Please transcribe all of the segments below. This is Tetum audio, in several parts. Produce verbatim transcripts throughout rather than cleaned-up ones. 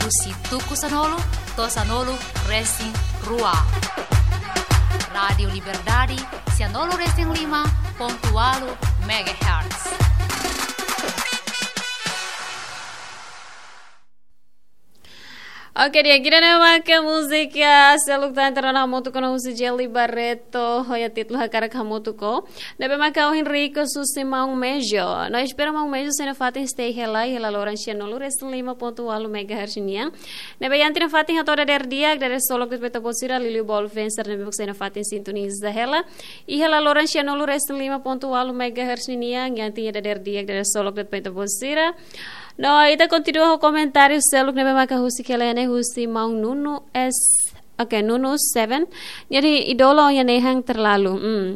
Husi tuku sanulu to'o sanulu resin rua. Rádiu Liberdade, sanulu resin lima pontu ualu megahertz. Oke, di'ak, ida-ne'e maka múzika seluk tan terkenal hamutuk ho husi Jelly Barreto, ho iha títulu Hakarak Hamutuk Ho. Ne'ebé maka ohin request husi maun Mejo. No espera maun Mejo sei nafatin stay hela, hela loron sanulu resin lima pontu ualu megahertz nian. Ne'ebé iha ita nafatin hato'o dadeer di'ak, dadeer-solok de'it ba ita-boot sira, liuliu ba olu fans sira ne'ebé sei nafatin sintoniza hela. I hela loron sanulu resin lima pontu ualu megahertz nian, iha ita dadeer di'ak, dadeer-solok de'it ba ita-boot sira. No, ita kontinua ho komentáriu seluk ne'ebé maka husik hela iha ne'e husi maun Nuno S, oke, Nuno Seven. Jadi idola iha nehan terlalu. Hmm.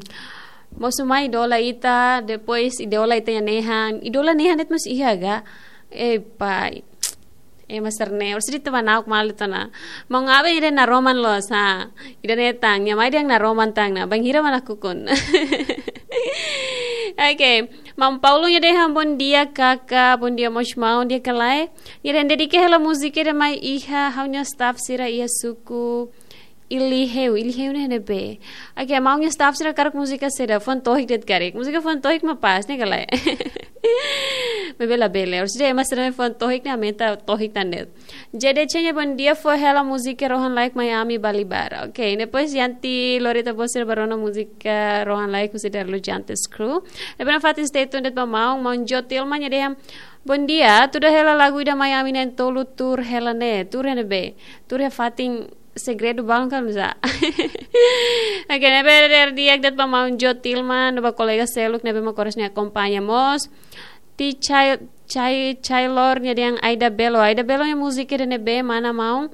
Mosu mai idola ita, depois idola ita iha nehan. Idola nehan de'it mós iha ga? Eh, pai. Eh, master ne, orsida teman aku malu tana. Maun Abe ida naroman loos, ha. Ida-ne'e tan, nia mai dehan naroman tan ona. Bainhira mak nakukun. Oke. Maun Paulo nia dehan bom dia kaka, bom dia mós maun, di'ak ka lae. Nia dehan dedika hela múzika ida mai iha, ha'u-nia staff sira iha suku Iliheu, Iliheu ne'e ne'ebé. Oke, maun nia staff sira hakarak múzika saida, Fuan Tohik de'it karik. Múzika Fuan Tohik mak pas ne'e ka lae. Maibé labele, orsida ema sira-ne'e Fuan Tohik ne'e aumenta tohik tan de'it. J D C nia bom dia fó hela múzika Rohan Laek Miami Bali Bar. Oke, depois iha ita lori ita-boot sira ba rona múzika Rohan Laek husi Darlu Jantes Crew. Ne'ebé nafatin stay tuned de'it ba maun, maun Jotilma nia dehan bom dia, tuda hela lagu ida Miami na'in-tolu tuur hela ne'e, tuur iha ne'ebé, tuur iha fatin segredu balun ka nusá. Oke, ne'ebé dadeer di'ak de'it ba maun Jotilma, no ba kolega seluk ne'ebé mak oras ne'e akompaña mós. Ti Chai, Chai, Chailor nia dehan Aida Belo. Aida Belo nia múzika ida ne'ebé mana maun.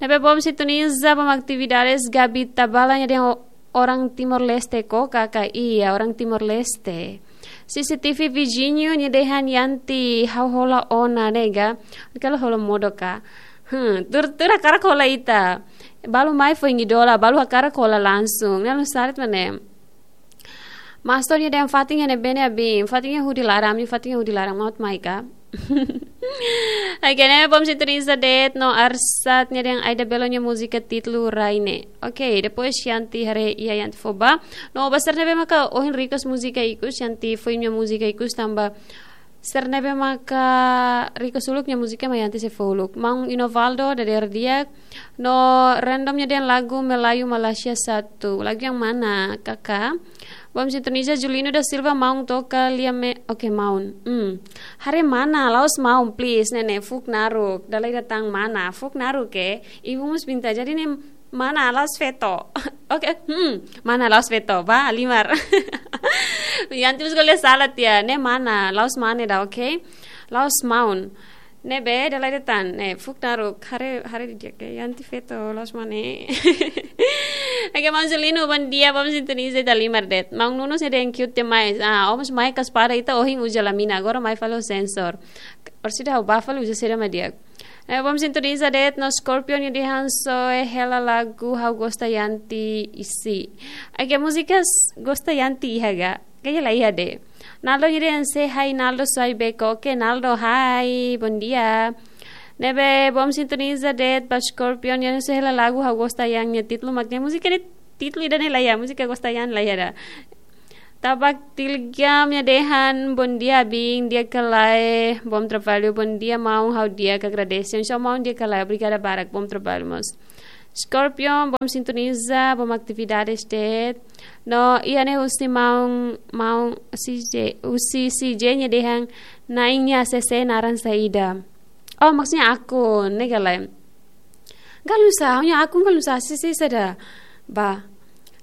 Ne'ebé bom sintoniza, bom atividades, Gabi Tabala nia dehan o-, orang Timor-Leste ko, kaka, iya, orang Timor-Leste. C C T V vizinho nia dehan iha ita ha'u hola ona ne'e ga. Kala hola modo ka. Hmm, tuur, tuur hakarak hola ita. Balu mai foin idola, balu hakarak hola langsung. Ne'e nusá de'it mak ne'e. Mastor nia dehan fatin iha ne'ebé ne'e abin, fatin iha hudi laran, ami fatin iha hudi laran, maun mai ka. Oke, ne'e bom sintoniza de'it no Arsat nia dehan Aida Belo nia múzika títulu Raine. Oke, depois iha ita haree iha ita fó ba. No ba sira ne'ebé maka ohin request múzika ikus, iha ita fó imi-nia múzika ikus tanba sira ne'ebé maka request uluk nia múzika mak iha ita sei fó uluk. Maun Inovaldo, dadeer di'ak. No random nia dehan lagu Melayu Malaysia satu. Lagu yang mana, kaka? Bom sintoniza Julino da Silva, maun toka lia me-, oke, maun. Hmm. Haree mana, la'ós maun, please, ne'e ne'e, fuuk naruk. Dala ida tan mana, fuuk naruk, eh. Ibu mós pinta, jadi ne'e mana, la'ós feto. Oke, hmm. Mana, la'ós feto, ba, halimar. Iha ita mós ko'alia sala tiha, ne'e mana, la'ós mane ida, oke? La'ós maun. Ne'ebé, dala ida tan, ne'e, fuuk naruk, haree, haree didi'ak, iha ita feto, la'ós mane. Oke, maun Julino, bom dia, bom sintoniza ita halimar de'it. Maun Nuno nia dehan cute demais. Ah, ó mós mai ka espada ita ohin uza lamina, agora mai fali ho sensor. Orsida ha'u bá fali uza saida mak di'ak. Eh, bom sintoniza de'it no Scorpion nia dehan soe hela lagu ha'u gosta iha ita isi. Oke, múzika gosta iha ita iha ga? Kayaknya la iha de'it. Naldo nia dehan say hi Naldo, soe beko. Oke, Naldo, hi, bom dia. Ne'ebé bom sintoniza de'it ba Scorpion nia dehan soe hela lagu ha'u gosta iha nia, títulu mak ne'e, múzika ne'e títulu ida-ne'e la iha, múzika gosta iha la iha ida. Tabak Tilgam nia dehan bom dia abin, di'ak ka lae, bom trabalho, bom dia maun, ha'u di'ak, agradese. Oinsá maun, di'ak ka lae, obrigada barak, bom trabalho mós. Scorpion, bom sintoniza, bom atividades de'it. No, iha ne'e husi maun, maun C J, husi C J nia dehan, na'in nia A C C naran saida. Oh, maksudnya akun, ne'e ka lae. Galu sa, ha'u-nia akun galu sa, C C saida. Ba.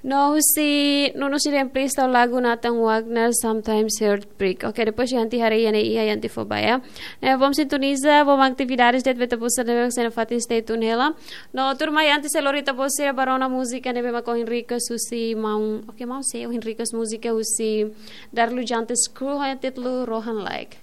No, husi Nuno nia dehan please tau lagu Nathan Wagner, Sometimes Heartbreak. Oke, depois iha ita haree iha ne'e, iha ita fó ba ya. Ne'e bom sintoniza, bom atividades de'it ba ita-boot sira ne'ebé sei nafatin stay tune hela. No, tuirmai ita sei lori ita-boot sira ba rona múzika ne'ebé maka ohin request husi maun. Oke, maun sei ohin request múzika husi Darlu Jantes Crew ho títulu Rohan Laek.